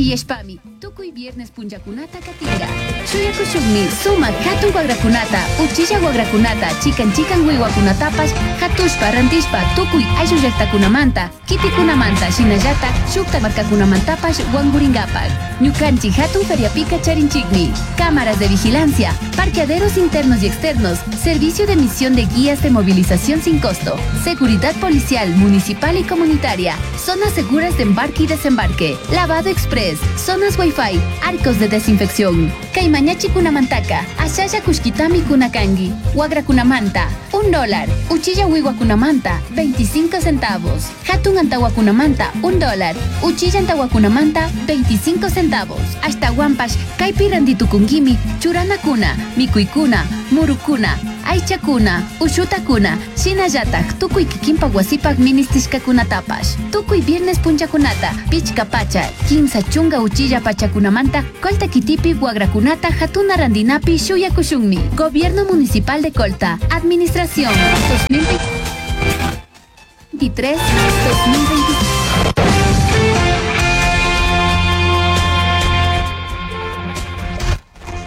Sinchiyashpami tukuy viernes punllakunata katinka. Shuyakushunmi sumak hatun wakrakunata, uchilla wakrakunata, chikan chikan wiwakunatapash hatushpa rantishpa tukuy ayllu llaktakunamanta, kitikunamanta shinallatak shukta markakunamantapash wankurinkapak. Ñukanchik hatun feriapika charinchikmi cámaras de vigilancia, parqueaderos internos y externos, servicio de emisión de guías de movilización sin costo, seguridad policial, municipal y comunitaria, zonas seguras de embarque y desembarque, lavado express, zonas wifi, arcos de desinfección. Kaymañachi kunamantaka, ashalla kushkitami kunakangi, wagrakunamanta, $1, uchilla wiwakunamanta, 25 centavos, hatun antawakunamanta, $1, uchilla antawakunamanta, 25 centavos. Ashtawanpash, kaypi rantitukunkimi, churanakuna, mikuykuna, murukuna, aychakuna, ushutakuna, shinallatak tukuy kikinpak wasipak ministishkakunatapash. Tukuy viernes punchakunata, pichka pacha, 30 uchilla pachakunamanta, Colta kitipi wagrakunata hatuna randinapi shuyakushunmi. Gobierno Municipal de Colta, Administración 2023 2024.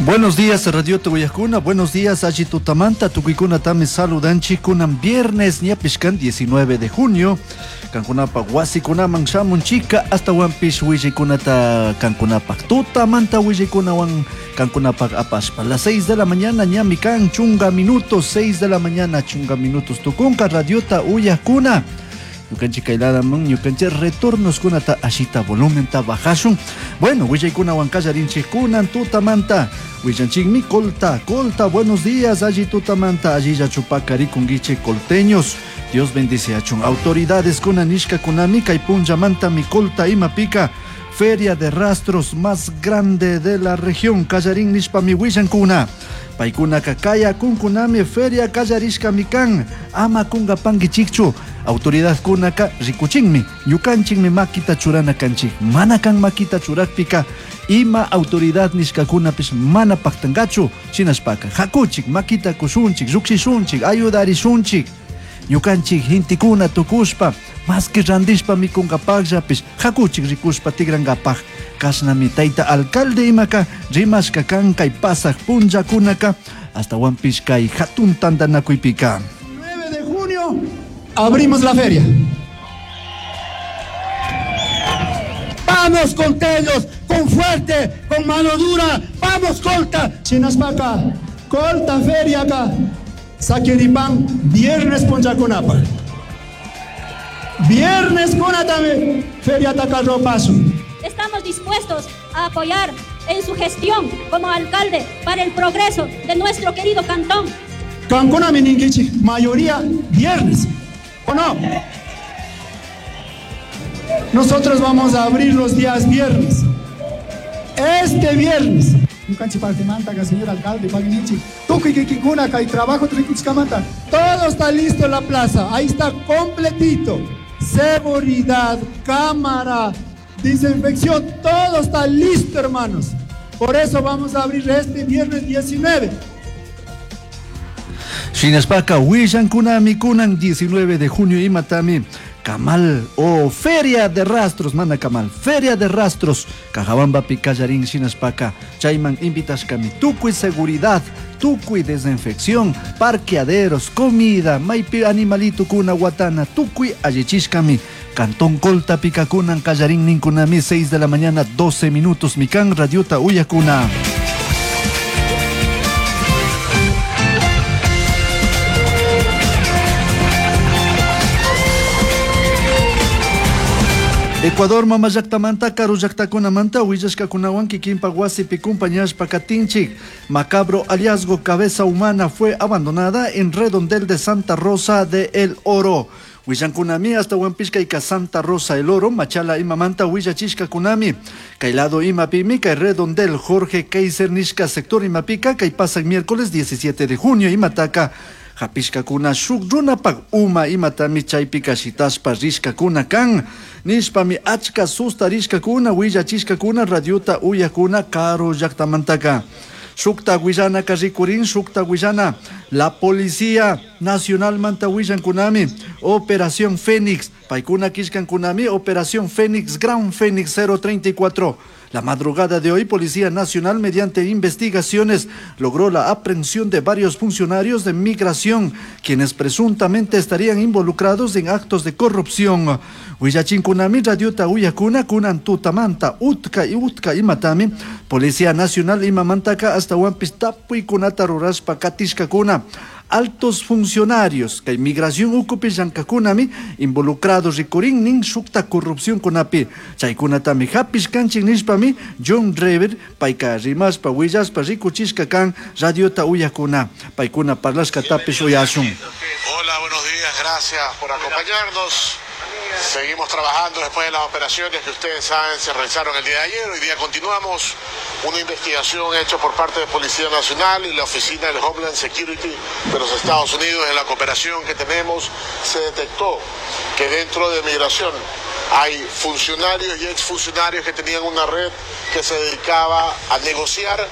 Buenos días, Radio Togoyajuna. Buenos días, Aji Tutamanta. Tukuykuna tami saludanchi. Kunan viernes, ñapishkan 19 de junio. Kankunapa wasikunaman shamun chica. Hasta wampish willikunata kankunapa. Tutamanta willikunawan kankunapa apashpa. Las 6 de la mañana, ñami kan chunga minutos. 6 de la mañana, chunga minutos. Tukunka radiota uyakuna. Ñukanchik kayladaman, ñukanchik retornos kunata ashita volumen ta bajashun. Bueno, willaykunawan kallarinchik kunan tutamanta. Willanchikmi Colta, Colta, buenos días, allí tutamanta, allí ya chupaka rikunguiche colteños. Dios bendice achun. Autoridades kunanishka kunami kay punllamanta mi Colta imapika. Feria de rastros más grande de la región, kallarin nishpa mi willankuna. Paykuna kakaya kunkunami feria kallarishka mikan ama kunga pangichikchu. Autoridad kunaka rikuchinmi ñukanchikmi makita churana kanchik. Mana kan makita churakpika ima autoridad nishkakunapish mana paktankachu. Shinashpaka hakuchik makita kushunchik, llukshishunchik, ayudarishunchik. Ñukanchik hintikuna tukushpa maski randishpa mikunkapakllapish hakuchik rikushpa tigrankapak. Kashnami tayta alcalde imaka rimashka kan kay pasaq punllakunaka hasta wampish kay hatun tantanakuypika. 9 de junio abrimos la feria. Vamos con tellos, con fuerte, con mano dura, vamos Colta. Chinaspaka, Colta feria acá. Saqueripan, viernes punchakunapa. Viernes kunatame, feria tacarropaso. Estamos dispuestos a apoyar en su gestión como alcalde para el progreso de nuestro querido cantón. Cancuna Mininguichi, mayoría viernes, ¿o no? Nosotros vamos a abrir los días viernes. Este viernes. Ñukanchik partimanta, señor alcalde, Pagnichi, tukuy kikikuna, kay trabajo trikuchkamanta. Todo está listo en la plaza, ahí está completito. Seguridad, cámara, desinfección, todo está listo, hermanos. Por eso vamos a abrir este viernes 19. Shinashpaka, willankunami kunan 19 de junio imatami Kamal o Feria de Rastros, mana Kamal, Feria de Rastros, Cajabamba Picallarín, Shinashpaka, Chayman invitashkami, tukuy seguridad, tukuy desinfección, parqueaderos, comida, maypi animalito kuna guatana, tukuy allichishkami, Cantón Colta Picacunan, Callarín Ninkunami, 6 de la mañana, 12 minutos, Mikan, Radiota Uyakuna. Ecuador mama llaktamanta karu llaktakunamanta willashkakunawan kikinpak wasipi kumpañashpa katinchik. Macabro hallazgo, cabeza humana fue abandonada en redondel de Santa Rosa de El Oro. Willankunami hasta Huampishka Santa Rosa El Oro, Machala imamanta willachishkakunami. Kay lado imapimi, kay redondel Jorge Kaiser nishka sector imapika, kay pasak miércoles 17 de junio imataka. Hapishkakuna shuk runapak uma imatami chaypika shitashpa rishkakuna kan. Nishpami achka susta rishkakuna willachishkakuna radiota uyakuna karu llaktamantaka. Shukta willanaka rikurin, shukta willana. La Policía Nacional manta willankunami. Operación Fénix. Paykuna killkankunami Operación Fénix Gran Fénix 034. La madrugada de hoy, Policía Nacional, mediante investigaciones, logró la aprehensión de varios funcionarios de migración, quienes presuntamente estarían involucrados en actos de corrupción. Willachinkunami radiota uyakuna kunan tutamanta utka y utka imatami Policía Nacional imamantaka hasta tapuykunata rurashpa katishkakuna. Altos funcionarios kay migración ukupi llank'akunami involucrados rikurin shukta corrupción kunapi chaykunatami hapishkanchik nishpami John Rever payka rimashpa willashpa rikuchishka kan radiota uyakuna paykuna parlashkatapish uyashun. Hola, buenos días, gracias por acompañarnos. Seguimos trabajando después de las operaciones que ustedes saben se realizaron el día de ayer. Hoy día continuamos una investigación hecha por parte de Policía Nacional y la Oficina del Homeland Security de los Estados Unidos. En la cooperación que tenemos se detectó que dentro de migración hay funcionarios y exfuncionarios que tenían una red que se dedicaba a negociar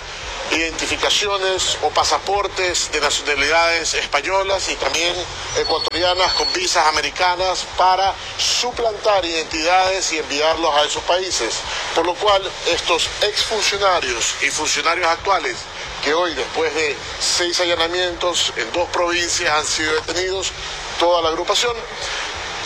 identificaciones o pasaportes de nacionalidades españolas y también ecuatorianas con visas americanas para suplantar identidades y enviarlos a esos países. Por lo cual, estos exfuncionarios y funcionarios actuales que hoy, después de 6 allanamientos en 2 provincias, han sido detenidos, toda la agrupación,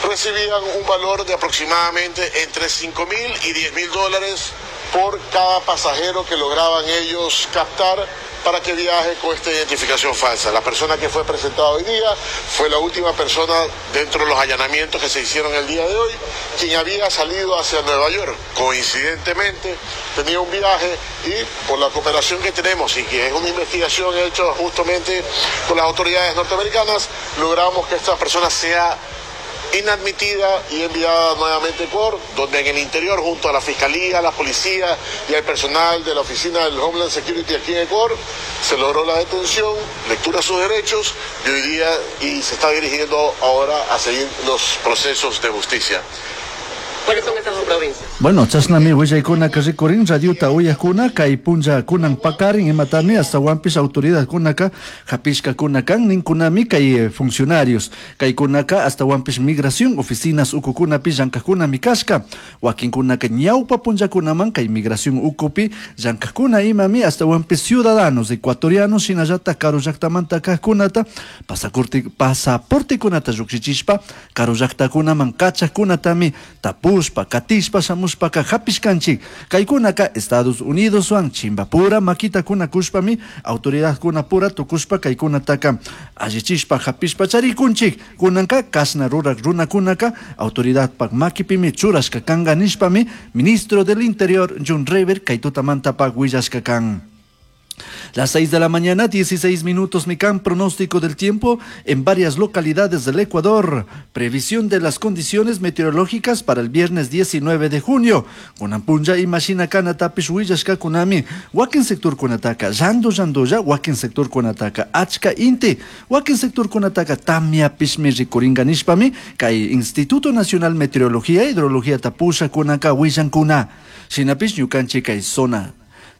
recibían un valor de aproximadamente entre 5.000 y 10.000 dólares por cada pasajero que lograban ellos captar para que viaje con esta identificación falsa. La persona que fue presentada hoy día fue la última persona dentro de los allanamientos que se hicieron el día de hoy, quien había salido hacia Nueva York. Coincidentemente, tenía un viaje y por la cooperación que tenemos y que es una investigación hecha justamente con las autoridades norteamericanas, logramos que esta persona sea inadmitida y enviada nuevamente a Ecuador, donde en el interior, junto a la Fiscalía, la Policía y al personal de la Oficina del Homeland Security aquí en Ecuador, se logró la detención, lectura de sus derechos y hoy día y se está dirigiendo ahora a seguir los procesos de justicia. ¿Cuáles son estas dos provincias? Bueno, chashnami willaykunaka rikurin radiota uyakuna kay punlla kunan pakarin imatami hasta wampis autoridadkunaka hapishkakuna kan ninkunami kay funcionarios kaykunaka hasta wampis migración oficinas ukukunapi llank'ajkunami kashka wakinkunaka ñawpa punllakunaman kay migración ukupi llank'ajkuna imami hasta wampis ciudadanos ecuatorianos shinallatak karu llaktamanta kajkunata pasaportekunata llukshichishpa karu llaktakunaman kachajkunatami tapushpa katishpa shamushpaka hapishkanchik kaykunaka Estados Unidoswan chimbapura makitakuna kushpami autoridadkunapura tukushpa kaykunataka allichishpa hapishpa charikunchik kunanka kashna rurak runakunaka autoridadpak makipimi churashka kanka nishpami ministro del Interior John Rever kay tutamantapak willashka kan. Las 6 de la mañana, 16 minutos, Mican, pronóstico del tiempo en varias localidades del Ecuador. Previsión de las condiciones meteorológicas para el viernes 19 de junio. Kunampunja imashina kana tapish willashka kunami. Wakin sector kunataka, yando yandoya, wakin sector kunataka, achka inti. Wakin sector kunataka, tamia pishmi rikuringa nishpami, kay Instituto Nacional Meteorología, Hidrología tapusha kunaka willankuna. Shinapish ñukanchik kay zona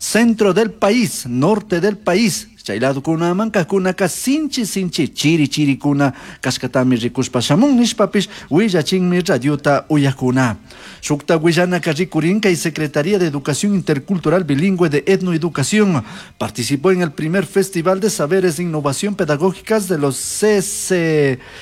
centro del país, norte del país, chay ladokunaman kajkunaka sinchi sinchi chiri chirikuna kashkatami rikushpa shamun nishpapish willachinmi radiota uyakuna. Shukta willanaka rikurin kay Secretaría de Educación Intercultural Bilingüe de Etnoeducación participó en el primer Festival de Saberes de Innovación Pedagógicas de los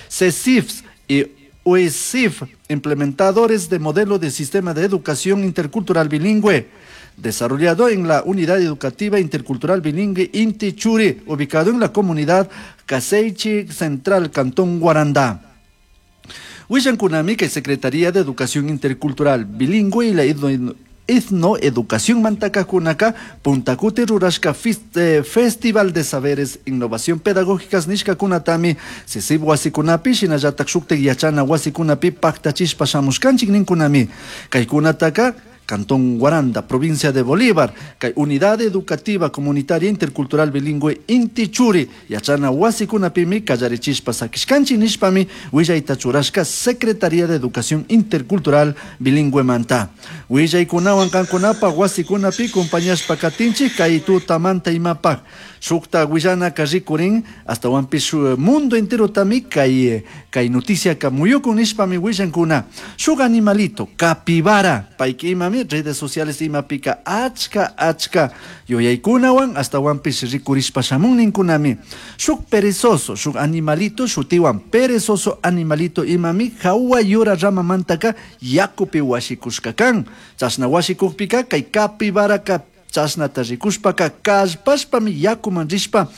CCIFs y UESIF, implementadores de modelo de sistema de educación intercultural bilingüe, desarrollado en la Unidad Educativa Intercultural Bilingüe Inti Churi, ubicado en la comunidad Caseichi Central, Cantón Guarandá. Willankunami, que Secretaría de Educación Intercultural Bilingüe y la Etnoeducación Mantakakunaka, Puntacuti Rurashka Festival de Saberes Innovación Pedagógicas Nishkakunatami, Sisib Wasikunapi, Shinallatak Shuktek Yachana Wasikunapi, Paktachishpa Shamushkanchik Ninkunami, Kaykunataka, Cantón Guaranda, provincia de Bolívar, kay Unidad Educativa Comunitaria Intercultural Bilingüe Inti Churi, yachana wasikunapimi kallarichishpa sakishkanchik nishpami willayta churashka Secretaría de Educación Intercultural Bilingüe manta. Willaykunawan kankunapaj wasikunapi compañashpa katinchik kay tutamanta imapaj. Shukta willanaka rikurin, astawanpish mundo enterotami kay noticiaka muyukun nishpami willankuna. Shuk animalito, capibara, payka imami redes sociales imapika achka achka yuyaykunawan astawanpish rikurishpa shamun ninkunami. Shuk perezoso, shuk animalito shutiwan perezoso animalito imami hawa yura ramamantaka yakupi washikushka kan. Chashna washikukpika kay capibaraka chashnata rikushpaka kallpashpami yakuman rishpa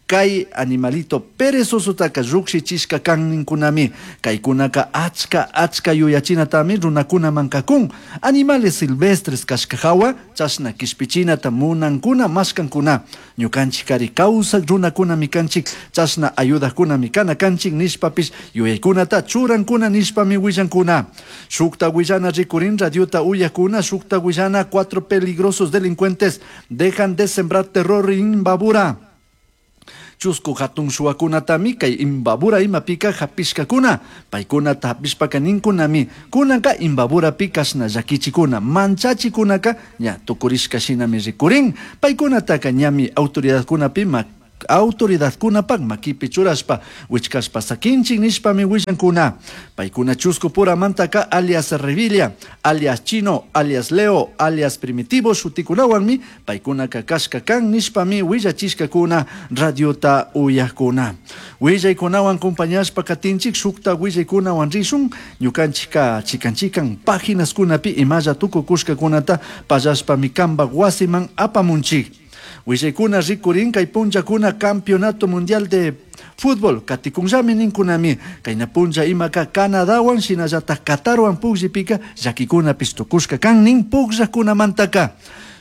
kay animalito perezosotaka llukshichishka kan ninkunami. Kaykunaka achka achka yuyachinatami runakunaman kakun. Animales silvestres kashka hawa chashna kishpichinata munankuna mashkankuna. Ñukanchik kari kawsak runakunami kanchik, chashna ayudajkunami kana kanchik nishpapish yuyaykunata churankuna nishpami willankuna. Shukta willana rikurin radiota uyakuna, shukta willana 4 peligrosos delincuentes dejan de sembrar terror en Imbabura. Chusku hatun shuwakunatami kay Imbabura imapika hapishkakuna, paykunata hapishpaka ninkunami, kunanka Imbaburapi kashna llakichikuna, manchachikunaka ña tukurishka shinami rikurin, paykunataka ñami autoridadkunapi autoridadkunapak makipi churashpa wichkashpa sakinchik nishpami willankuna. Paykuna chusku puramantaka alias Revilla, alias Chino, alias Leo, alias Primitivo shutikunawanmi paykunaka kashka kan nishpami willachishkakuna radiota uyakuna. Willaykunawan compañashpa katinchik shukta willaykunawan rishun ñukanchika chikan chikan páginaskunapi imalla tukukushkakunata pallashpami kanpak wasiman apamunchik. Willaykuna rikurin kay punllakuna Campeonato Mundial de Fútbol katikunllami ninkunami kayna punlla imaka Canadawan shinallataj Qatarwan pukllipika llakikunapis tukushka kan nin pukllakunamantaka.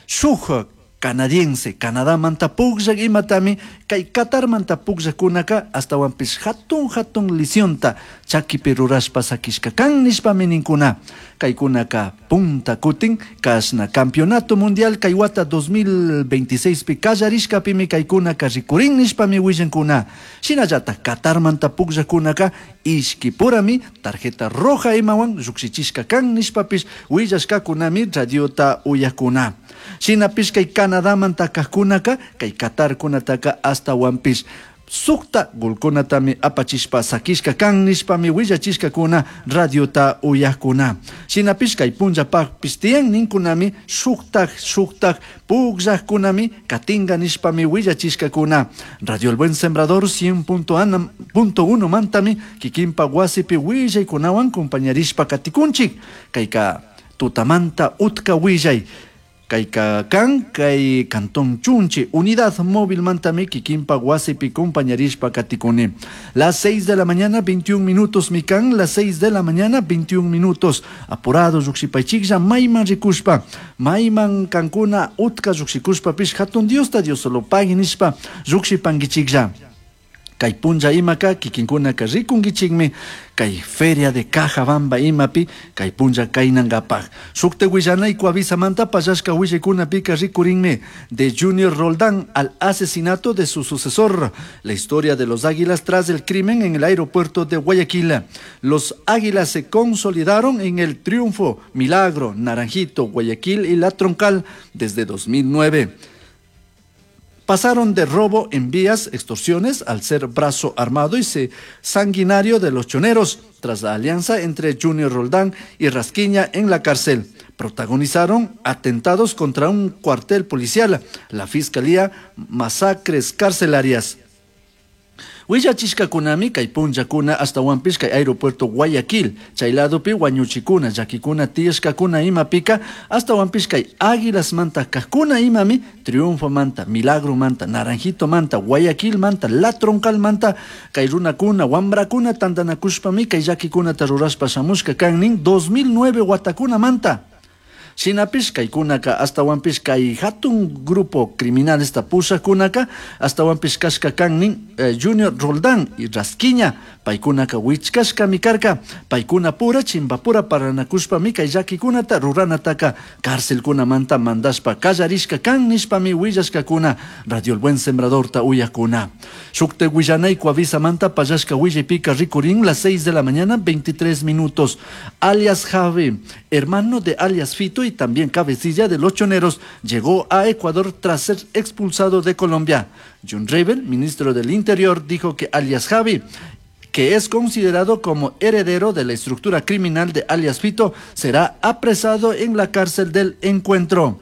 Shuk canadiense Canadamanta pukllak imatami kay Qatarmanta pukllakunaka astawanpis hatun hatun lisionta chakipi rurashpa sakishka kan nishpami ninkuna. Kaykunaka punta kutin kashna Campeonato Mundial kay wata 2026 pi kallarishkapimi kaykunaka rikurin nishpami willankuna. Shinallataj Qatarmanta pukllakunaka ishkipurami tarjeta roja imawan llukshichishka kan nishpapish willashkakunami radiota uyakuna. Shinapish kay Canadamanta kajkunaka kay Qatarkunataka astawanpish sukta golkunatami apachishpa sakishka kan nishpami willachishkakuna radiota uyakuna. Shinapish kay punllapakpish tiyan ninkunami shuktak shuktak pukllajkunami katinga nishpami willachishkakuna. Radio El Buen Sembrador 100.1 mantami kikinpa wasipi willaykunawan compañarishpa katikunchik. Kayka tutamanta utka willay. Kayka kan kay Cantón Chunchi, unidad móvil mantami kikinpa wasipi compañarishpa katikuni. Las 6 de la mañana, 21 minutos, mikan, las 6 de la mañana, 21 minutos. Apurado, lluqshipaychiklla, mayman rikushpa, mayman kankuna utka lluqshikushpa pish hatun Diosta Dios solo pagui nishpa lluqshipankichiklla. Kay punlla imaka kikinkunaka rikunkichikmi kay feria de Cajabamba imapi kay punlla kaynankapaj. Shukta willanayku avisamanta pallashka willaykunapika rikurinmi de Junior Roldán al asesinato de su sucesor. La historia de los Águilas tras el crimen en el aeropuerto de Guayaquil. Los Águilas se consolidaron en el triunfo Milagro, Naranjito, Guayaquil y La Troncal desde 2009. Pasaron de robo en vías, extorsiones, al ser brazo armado y sanguinario de los choneros, tras la alianza entre Junior Roldán y Rasquiña en la cárcel. Protagonizaron atentados contra un cuartel policial, la fiscalía, masacres carcelarias. Willachishkakunami kay punllakuna astawanpish kay aeropuerto Guayaquil, chay ladopi wañuchikuna, llakikuna tiyashkakuna imapika, astawanpish kay Águilasmanta kajkuna imami, Triunfo manta, Milagro manta, Naranjito manta, Guayaquil manta, La Troncal manta, kay runakuna, wambrakuna tantanakushpami kay llakikunata rurashpa shamushka kan nin 2009 watakuna manta. Shinapish kaykunaka ashtawanpish kay hatun grupo criminalesta pushakkunaka ashtawanpish kashka kan nin Junior Roldán y Rasquiña, paykunaka wichkashkami karka, paykunapura chimbapura parlanakushpami kay llakikunata ruranataka carcelkunamanta mandashpa kallarishka kan nishpami willashkakuna Radio El Buen Sembradorta uyakuna. Shukte willanay Coavisamanta pallashka willaypika rikurin las 6 de la mañana 23 minutos. Alias Javi, hermano de alias Fito y también cabecilla de los Choneros, llegó a Ecuador tras ser expulsado de Colombia. John Rebel, ministro del Interior, dijo que alias Javi, que es considerado como heredero de la estructura criminal de alias Fito, será apresado en la cárcel del Encuentro.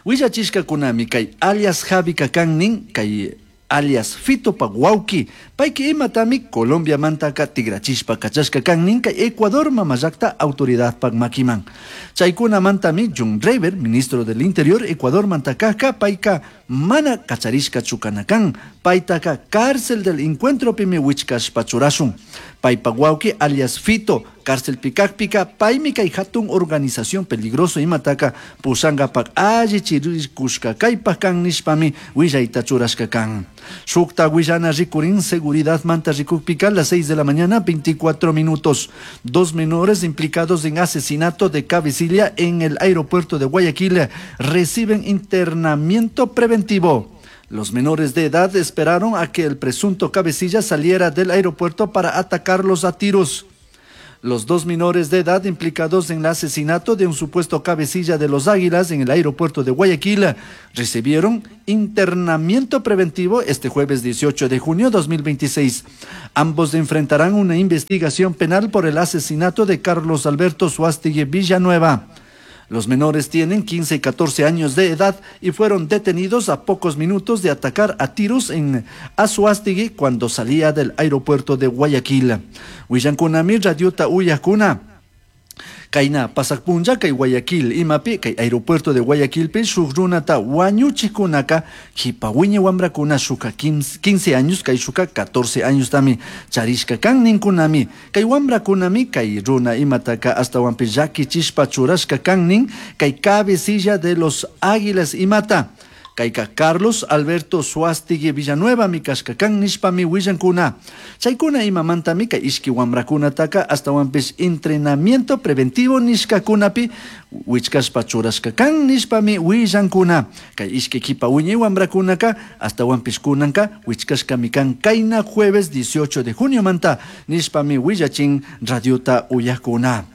Willachishkakunami kay alias Javi kakan nin, kay alias Fito pa wawki, payka imatami Colombia mantaka tigrachishpa kachashka kan nin kay Ecuador mamallakta autoridad pak makiman. Chaykuna mantami John Rayber, ministro del Interior, Ecuador mantakaka payka mana kacharishka chukanakan, paytaka cárcel del Encuentro pimi wichkashpa churashun. Paypa wawki alias Fito, cárcel pikakpika, paymi kay hatun organización peligroso imataka pushankapak alli chirikushka kaypak kan nishpami willayta churashka kan. Shukta willana rikurin seguridad manta rikukpika a las 6 de la mañana 24 minutos. Dos menores implicados en asesinato de cabecilla en el aeropuerto de Guayaquil reciben internamiento preventivo. Los menores de edad esperaron a que el presunto cabecilla saliera del aeropuerto para atacarlos a tiros. Los dos menores de edad implicados en el asesinato de un supuesto cabecilla de los Águilas en el aeropuerto de Guayaquil recibieron internamiento preventivo este jueves 18 de junio de 2026. Ambos enfrentarán una investigación penal por el asesinato de Carlos Alberto Suástegui Villanueva. Los menores tienen 15 y 14 años de edad y fueron detenidos a pocos minutos de atacar a tiros en Anzoátegui cuando salía del aeropuerto de Guayaquil. Willankunami radiota uyakuna. Kayna pasak punlla kay Guayaquil imapi kay aeropuerto de Guayaquilpi shuk runata wañuchikunaka jipa wiña wamrakuna shuka 15 años kay shuka 14 años tami charishka kan ninkunami kay wamrakunami kay runa imataka ashtawanpi llakichishpa churashka kan nin kay cabecilla de los Águilas imata. Kayka Carlos Alberto Suástegui Villanueva mi kashka kan nishpami willankuna. Chaykuna imamantami kay ishki wamrakunataka ashtawanpish entrenamiento preventivo nishkakunapi wichkashpa churashka kan nishpami willankuna. Kay ishki kipa wiñay wamrakunaka ashtawanpish kunanka wichkashkami kan kayna jueves 18 de junio manta nishpami willachin radiota uyakuna.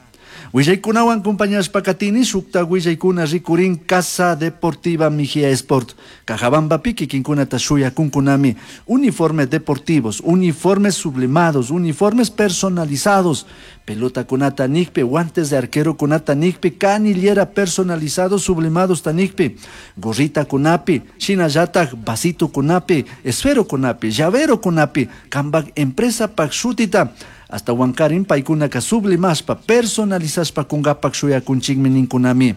Willaykunawan compañashpa katini shukta willaykuna rikurin Casa Deportiva Mejía Sport. Cajabamba kikinkunata shuyakunkunami uniformes deportivos, uniformes sublimados, uniformes personalizados, pelota kunata nikpi, guantes de arquero kunata nikpi, canillera personalizados sublimados tanikpi, gorrita kunapi, shinallatak vasito kunapi, esfero kunapi, llavero kunapi, kambak empresa pak shutita. Hasta Huancarín paykunaka sublimashpa, personalizashpa kungapak shuyakunchikmi ninkunami.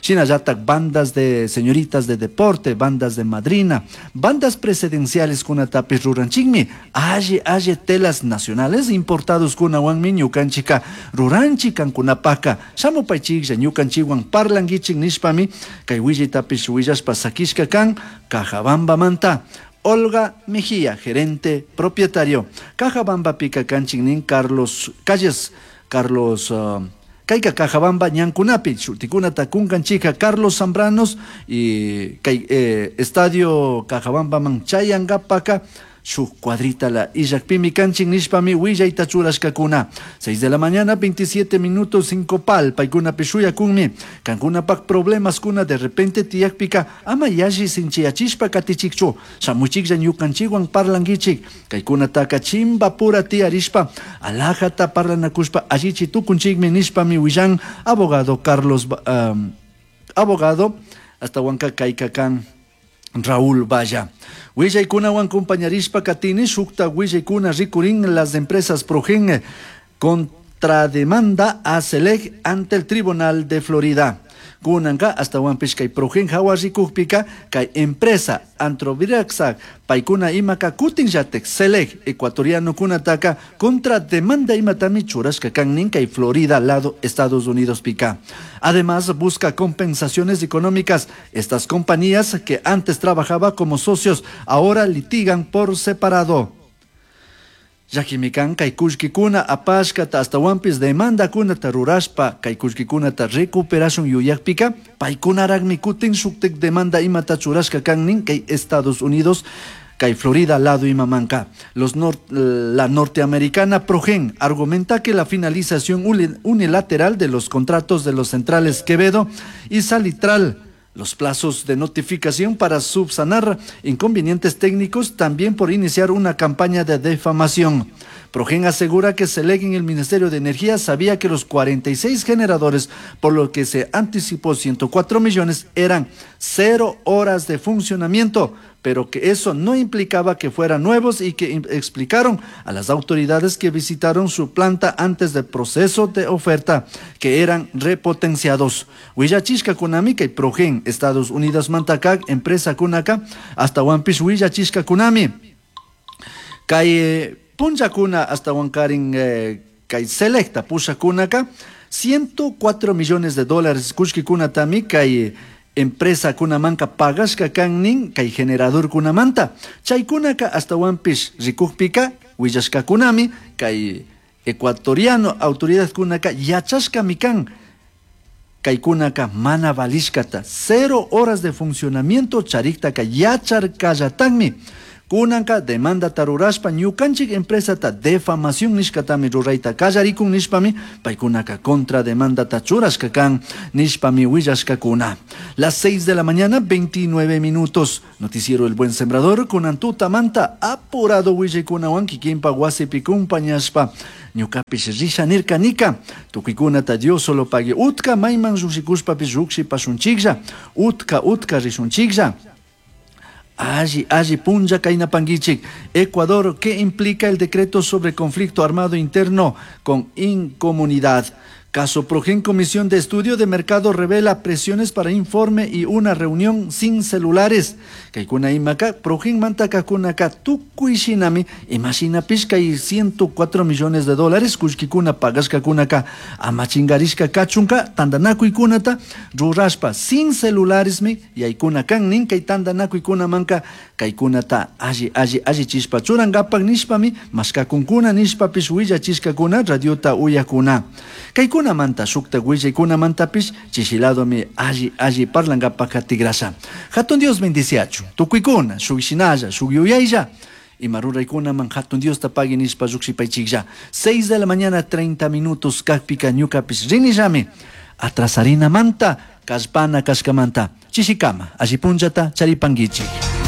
Shinallatak bandas de señoritas de deporte, bandas de madrina, bandas presidenciales kunatapish ruranchikmi, alli alli telas nacionales importados kunawanmi ñukanchika ruranchik kankunapaka, shamupaychiklla ñukanchikwan parlanguichik nishpami, kay willaytapish willashpa sakishka kan Cajabambamanta. Olga Mejía, gerente propietario. Cajabamba pica kanchiknin Carlos Calles, Carlos Kayka Cajabamba ñankunapi, shutikunata kunkanchika Carlos Zambranos y kay, Estadio Cajabamba man chayankapaka shuk cuadrita la illakpimi kanchin nishpami willayta churashkakuna. 6 de la mañana, 27 minutos, 5 pal, paykunapi shuyakunmi. Kankunapak problemas kuna de repente tiyakpika ama yalli sinchiyachishpa katichikchu. Shamuchiklla ñukanchikwan parlankichik. Kaykunataka chimbapura tiyarishpa, alajata parlanakushpa allichi tukunchikmi nishpami willan abogado Carlos, abogado hasta huanca kaykakan Raúl Valla. Willaykunawan compañarishpa katini shukta willaykuna rikurin las empresas Progen contrademanda a Selec ante el Tribunal de Florida. Kunanka ashtawanpish kay Progen hawa rikukpika kay empresa Antroviracsa paykuna imaka kutinllatik Selec ecuatorianokunataka contra demanda imatami churashka kan nin kay Florida lado Estados Unidos pika. Además busca compensaciones económicas. Estas compañías que antes trabajaba como socios ahora litigan por separado. Llakimikan kay kullkikuna apashkata ashtawanpish demandakunata rurashpa kay kullkikunata recuperashun yuyakpika paykunaraqmi kutin shuktik demanda imata churashka kan nin kay Estados Unidos kay Florida lado imamanka. La norteamericana Progen argumenta que la finalización unilateral de los contratos de los centrales Quevedo y Salitral, los plazos de notificación para subsanar inconvenientes técnicos, también por iniciar una campaña de difamación. Progen asegura que Selec en el Ministerio de Energía sabía que los 46 generadores, por lo que se anticipó 104 millones, eran 0 horas de funcionamiento, pero que eso no implicaba que fueran nuevos y que explicaron a las autoridades que visitaron su planta antes del proceso de oferta que eran repotenciados. Huillachishka kunami kay Progen, Estados Unidos Mantacac, empresa kunaka, hasta Huampish huillachishka kunami. Kay punchakuna hasta Huancarin, kay Selecta pushakunaka, 104 millones de dólares kushkikunatami kay empresa kunamanka pagashka kan nin kay generador kunamanta. Chaykunaka hasta Huampish rikukpika willashka kunami kay ecuatoriano autoridad kunaka yachashka mikan kay kunaka mana valishkata 0 horas de funcionamiento chariktaka yacharkallatanmi. Kunanka demanda tarurashpa ñukanchik empresata defamación nishkatami rurayta kallarikun nishpami paykunaka contra demanda churashka kan nishpami willashkakuna. Las 6 de la mañana, 29 minutos. Noticiero El Buen Sembrador kunan tutamanta apurado willaykunawan kikinpa wasipi kumpañashpa. Ñukapish risha nirka nika. Tukuykunata Dios solo pague. Utka mayman llushikushpapish llukshipasunchiklla. Utka, utka rishunchiklla. Alli, alli, punlla kainapanguichik. Ecuador, ¿qué implica el decreto sobre conflicto armado interno con incomunidad? Caso Progen, Comisión de Estudio de Mercado revela presiones para informe y una reunión sin celulares. Kaikuna imaka, Progen mantaka kunaka tukuy shinami, imashina pishka y 104 millones de dólares, kushkikuna pagashka kunaka, amachingarishka kachunka, tandanakuy kunata, rurashpa sin celulares mi, yaykuna kan nin kay tandanakuykuna manka, kaykunata alli, alli, alli chispa churangapak nishpami, mashkakunkuna nishpapish willachishkakuna, radiota uyakuna. Kaykuna manta shukta willaykuna mantapish chishiladomi alli alli parlangapak tigrasha. Hatun Dios bendiciachu. Tukuykuna, shuk shinalla, shuk yuyaylla. Ima ruraykunaman hatun Diosta pagui nishpa lluqshipaychiklla. 6 de la mañana, 30 minutos, kakpika ñukapish rinillami. Atrasarina manta, kallpana kashkamanta. Chishikama, alli punllata charipanguichik.